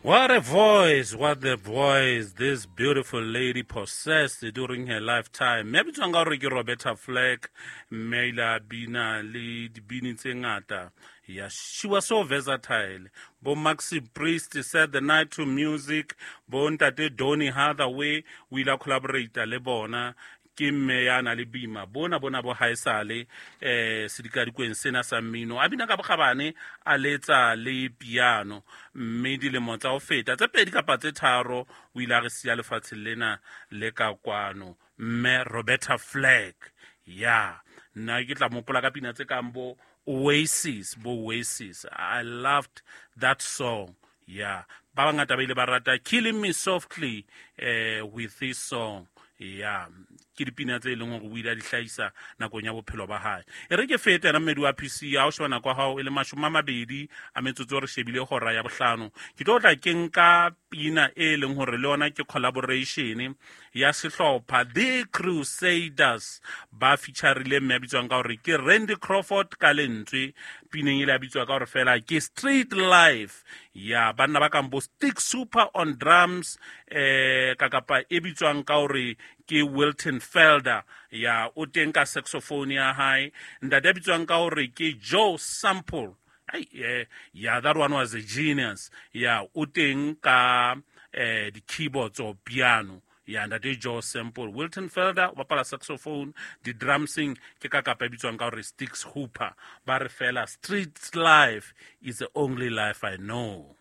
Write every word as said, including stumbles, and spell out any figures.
What a voice, what a voice this beautiful lady possessed during her lifetime. Mme a bitswang ka hore ke Roberta Flack, mme a ile a bina le dibini tse ngata. Yeah, she was so versatile. Bo Maxi Priest set the night to music. Bo ntate Donny Hathaway o ile a collaborate le bona. Ke mme ya na le boima bona bona bo haesale eh sedikadikweng sena sa mmino, a bina ka bokgabane, a letsa le piano. Mme dilemo tsa ho feta tse pedi kapa tse tharo o ile a re siya lefatsheng lena le ka kwano, mme Roberta Flack. Ya, nna ke tla mopola ka pina tse kang bo Oasis, bo Oasis. I loved that song. Yeah, ba bangata ba ile ba rata Killing Me Softly eh with this song. Ya, ke dipina tse e leng hore o ile a di hlahisa nakong ya bophelo ba hae. E re ke fete yena mmedi wa P C, ha o sheba nako ya hao e le mashome a mabedi a metsotso, re shebile hora ya bohlano. Ke tlo tla ke nka pina e leng hore le yona ke collaboration ya sehlopha The Crusaders, ba featureile mme a bitswang ka hore ke Randy Crawford ka lentswe. Pineng e le a bitswa ka hore fela ke Street Life. Ya banna ba kang bo Stix Super on drums, eh ka kapa e bitswang ka hore ke Wilton Felder, ya o teng ka saxophone ya hae. Ntate a bitswang ka hore ke Joe Sample. Ai, eh, yeah, that one was a genius. Ya, o teng ka eh di-keyboards or piano. Ya, ntate Joe Sample, Wilton Felder o bapala saxophone, di-drumsing ke ka kapa e bitswang ka hore Stix Hooper. Ba re fela, "Street life is the only life I know."